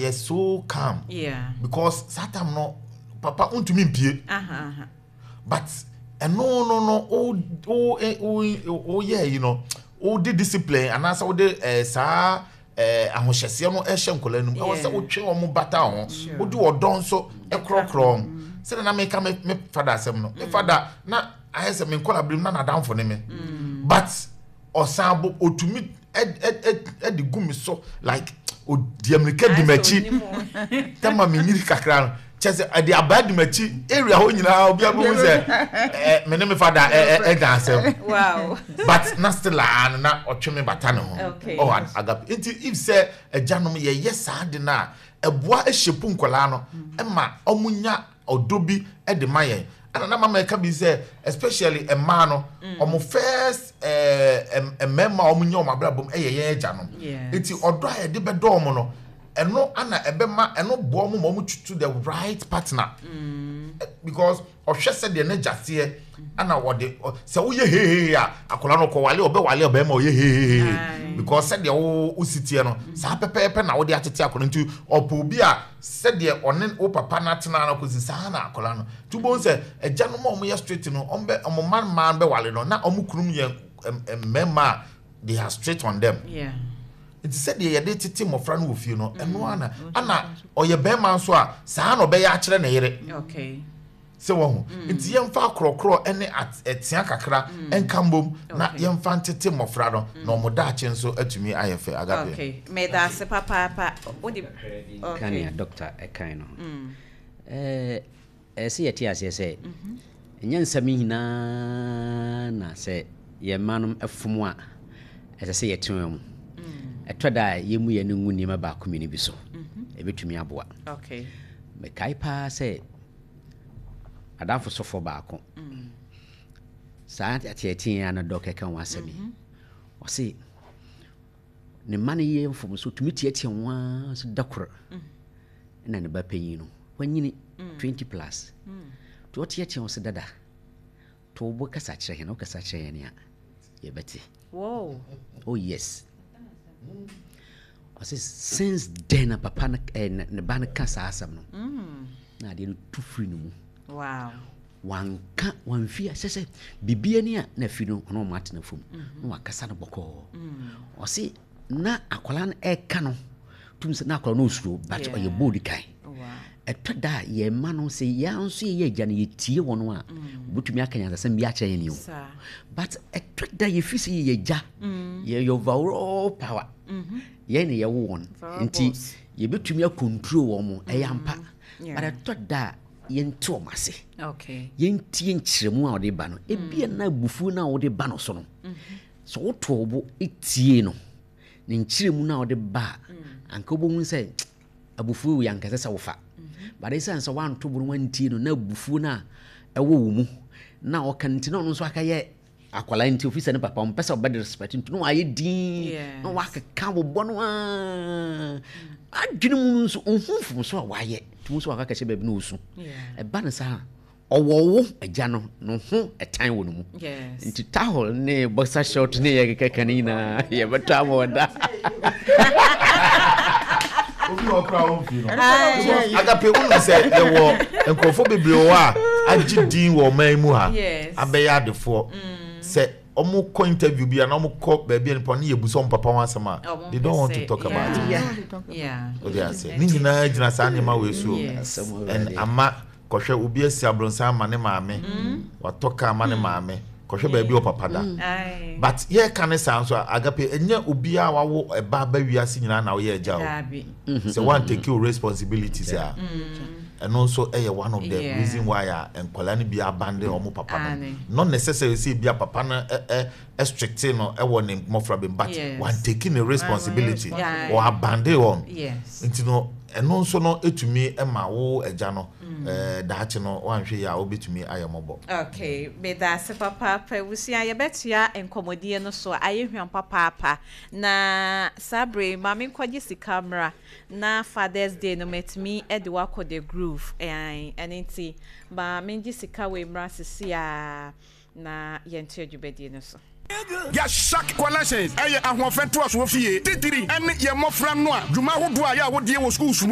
Ɔyɛ so calm because saa time no papa ntumi mpie. But ɛno no no wo wo wo woyɛ yi no, wode discipline anaasɛ wode saa ahohyɛseɛ no ɛhyɛ nkwadaa no mu. Ɛwɔ sɛ wotwe wɔn bata ho, wode ɔdɔ nso ɛkorɔkorɔ wɔn. Sɛdeɛ na meka me fada asɛm no, me fada na ayɛ sɛ me nkwadaa birim na n'adamfo ne me, but ɔsan bo otumi ɛde gu me so like odi amirika di m'akyi tɛma me nyiri kakra no, kyɛ sɛ ɛde abaa di m'akyi area hɔ nyinaa, obi abɛhu sɛ me ne me fada ɛda asɛm, but na still a no na ɔtwe me bata ne ho. Ɔwɔ agape. Nti if sɛ agyanom yɛyɛ saa de no a, ɛboa ɛhyɛ nkwadaa no ɛma ɔmo nya ɔdɔ bi de ma yɛn. Ɛna na mama ɛka bi sɛ especially mmaa no, ɔmo first mmarima a ɔmo nya ɔmo abrabɔ mu ɛyɛ yɛn agya no. Nti ɔdɔ a yɛde bɛdɔ ɔmo no, ɛno ana ɛbɛma ɛno boa ɔmo ma ɔmo tutu the right partner, because ɔhwɛ sɛdeɛ n'agya teɛ, ɛna ɔde sɛ woyɛ hehehe a, akwadaa no kɔwale, ɔbɛwale ɔbɛrima ɔyɛ hehehe, because sɛdeɛ wo wosi teɛ no, saa pɛpɛɛpɛ na wode atete akwadaa. Nti ɔpɛ obi a sɛdeɛ ɔne wo papa no atena no kɔsi saa na akwadaa no. Nti wobɛhu sɛ agyanom a wɔyɛ strict no, wɔn bɛ wɔn mma mmaa bɛwale no na wɔn kunum yɛ mmarima a they are strict on them. Nti sɛdeɛ yɛde tete mmɔfra no wɔ fie no, ɛno ara na ana ɔyɛ bɛrima nso a, saa na ɔbɛyɛ akyerɛ ne yere sɛ wɔho. Nti yɛmfa akorɔkorɔ ne ɛtea kakra nka mbom na yɛmfa ntete mmɔfra no na ɔmo daakye nso atumi ayɛ fɛ, agape. Okay, meda ase papaapa. Wode ka nea doctor ɛkan no ho. Ɛɛ sɛ yɛte aseɛ sɛ ɛnyɛ nsɛm nyinaa na sɛ yɛn mma no fom a ɛsɛ sɛ yɛte wɔn mu. Ɛtɔ da a yɛmu yɛn no ngu nneɛma baako mmienu bi so, ɛbɛtumi aboa. Mekae paa sɛ adamfo sɔfoɔ baako, saa ateɛteɛ a na dɔk ɛka ho asɛm yi, ɔse ne mma no yɛ mfomso, tumi teatea wɔn ara so. Da koro ɛna ne ba panyin no wanyini 20 plus nti ɔteatea wɔn sɛ, "Dada, to wo bo kasa kyerɛ yɛn, wokasa kyerɛ yɛn a yɛbɛte." Oh yes, ɔsɛ since then na papa no ne ba no ka saa asɛm no na adeɛ no tu firi ne mu. Wanka wamfi sɛ biribi ani a na afi no, ɔno ɔmo atena fam na wakasa no bɔkɔɔ. Ɔse na akwadaa no ɛka no tum sɛ na akwadaa no osuro, but ɔyɛ bold kan. Ɛtɔ da a yɛn mma no, sɛ yɛn nso yɛyɛ agya no, yɛtie wɔn a, wobɛtumi aka nyansasɛm bi akyerɛ yɛn o. But ɛtɔ da yɛfiri sɛ yɛyɛ agya, yɛyɛ overall power, yɛn na yɛwo wɔn nti yɛbɛtumi acontrol wɔn mo, ɛyɛ ampa. But ɛtɔ da a yɛnte wɔn ase, yɛntie nkyerɛmu a wɔde ba no. Ebia na abufuo no a wɔde ba no so no, sɛ woto wo bo tie no ne nkyerɛmu no a wɔde ba a, anka wobɛhu sɛ abufuo wei anka ɛsɛ sɛ wofa. But ɛsiane sɛ woanto bo no wantie no na abufuo no a ɛwɔ wo mu na ɔka no nti, na ɔno nso akɛyɛ akwadaa nti ofi sɛ ne papa ɔmpɛ sɛ ɔbɛde respect nti na wayɛ din na wakeka bobɔ no aa adwene mu no nso ɔhu mfomso a wayɛ nti mu nso waka kɛhyɛ baabi na ɔsu. Ɛba no saa, ɔwɔ wo agya no no ho ɛtan wɔ no mu. Nti towel ne boxer short ne yɛ keka no nyinaa yɛbɛtɔ ama ɔda. Obi wɔ kora wɔn fi no agape, wonim sɛ yɛwɔ nkurɔfoɔ bebree wɔ hɔ a agye din wɔ ɔman mu ha, abɛyɛ adefoɔ, sɛ ɔmo kɔ interview bi a na ɔmo kɔ baabi a nipa no yɛ busa ɔmo papa ho asɛm a, they don't want to talk about it. O de ase ne nyinaa gyina saa nneɛma wei so and ama kɔhwɛ obi asi abrɔnsan ama ne maame, watɔ kaa ama ne maame, kɔhwɛ baabi wɔ papa da. But yɛka ne saa nso a, agape, ɛnyɛ obiara wawo ɛba aba wiase nyinaa na ɔyɛ agya o. Sɛ one take your responsibilities a, ɛno nso ɛyɛ one of the reason why a nkwadaa no bi abandon ɔmo papa no. Not necessarily sɛ ebi a papa no ɛ ɛ strict no ɛwɔ ne mmɔfra bi, but one taking the responsibility or abandon wɔn. Nti no ɛno nso no etumi ɛma wo agya no daakye no wanhwɛ yi a, wobɛtumi ayɛ mmɔbɔ. Okay, meda ase papaapa. Abusua, yɛbɛtoa nkɔmmɔdie no so, ayɛ hwam papaapa. Na saa bere yi, maame nkɔgye sika mmra na Father's Day no matumi de wakɔ The Groove. Ɛn, ɛno nti ma mengye sika wei mmra sisi a na yɛntoa dwumadie no so. Yɛahyɛ Collections ɛyɛ ahoɔfɛ ntoasoɔ fie titiri ɛne yɛn mmɔfra no a dwuma ahodoɔ a yɛ a wɔdie wɔ schools mu.